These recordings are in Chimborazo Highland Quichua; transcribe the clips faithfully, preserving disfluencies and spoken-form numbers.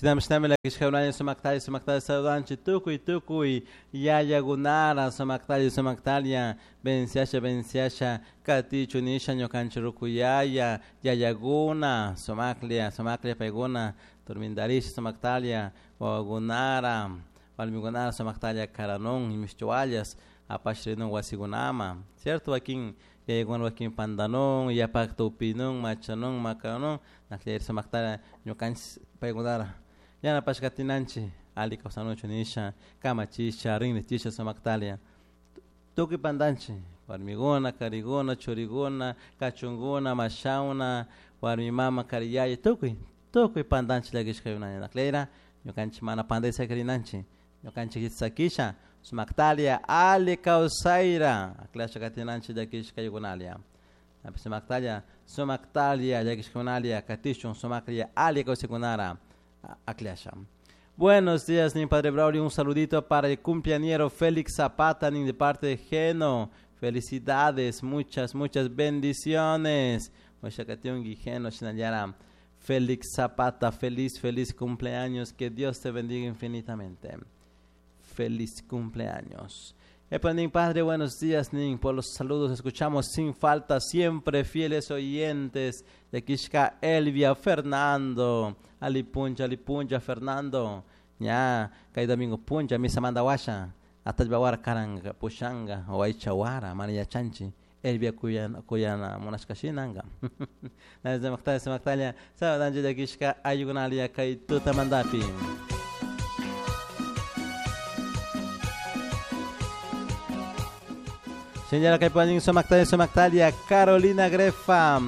Shinami shinami llakishkakunalla sumaktalla sumaktalla saludanchik tukuy tukuy yayakunara sumaktalla sumaktalla venciasha venciasha katichu nisha ñukanchik rukuyaya yayakuna sumaklla sumaklla paykuna turmintarisha sumaktalla wawakunara warmikunara sumaktalla karanun imishtuallas apashrinun wasikunaman, cierto? Wakin yayakuna wakin pantanun yapakta upinun machanun makanun naklla sumaktalla ñukanchik paykunara yanapashkatinanchik alli kawsanuchun nisha kamachisha rinrichisha sumaktalla tukuy pantanchik warmikuna karikuna churikuna kachunkuna mashawna warmi mama kari yaya tukuy tukuy pantanchik llakishkaykunalla naklera ñukanchik mana pantay sakirinanchik ñukanchik sakisha sumaktalla alli kawsayra aklasha katinanchik llakishkaykunalla sumaktalla sumaktalla llakishkunalla katishun sumaklla alli kawsaykunara aklasha. Buenos días, mi padre Braulio. Un saludito para el cumpleañero Félix Zapata, ni de parte de Geno. Felicidades, muchas, muchas bendiciones. Félix Zapata, feliz, feliz cumpleaños. Que Dios te bendiga infinitamente. Feliz cumpleaños. Epa, nin padre, buenos días, nin, por los saludos. Escuchamos sin falta, siempre fieles oyentes de Kishka Elvia Fernando. Alipuncha, alipuncha, Fernando. Ya, kay domingo puncha, misa manda washa. Atajbawara karanga, pushanga, o aichawara, mana chanchi. Elvia kuyana, kuyana, munashkashinanga. Nada, semaktalla, sabadanji de Kishka, ayugunalia, kay tuta mandapi. Señora Caipanín, Somactalia, Somactalia, Carolina Grefa,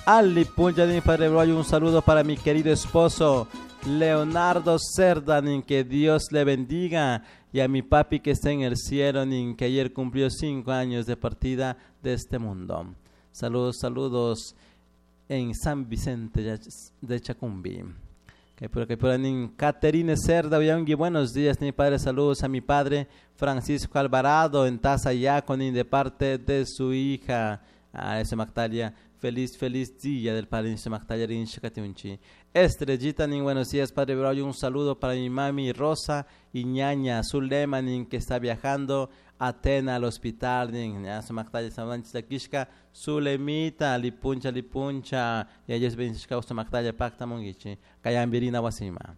Ali Puncha de mi padre Broyo, un saludo para mi querido esposo Leonardo Cerda, que Dios le bendiga, y a mi papi que está en el cielo, que ayer cumplió cinco años de partida de este mundo. Saludos, saludos en San Vicente de Chacumbi. Caterine Cerda, buenos días, mi padre, saludos a mi padre Francisco Alvarado en Tazayaco, de parte de su hija, a ese Mactalia, feliz, feliz día del padre Mactalia Rinshikatiunchi. Estrellita, nin, buenos días, padre Braulio, un saludo para mi mami Rosa y ñaña Zulema, nin, que está viajando a Atena al hospital, nin, ya su Mactalia, Kishka, Zulemita, lipuncha, lipuncha, y ellos ven su Mactalia, pacta mongichi, kayambirina wasima.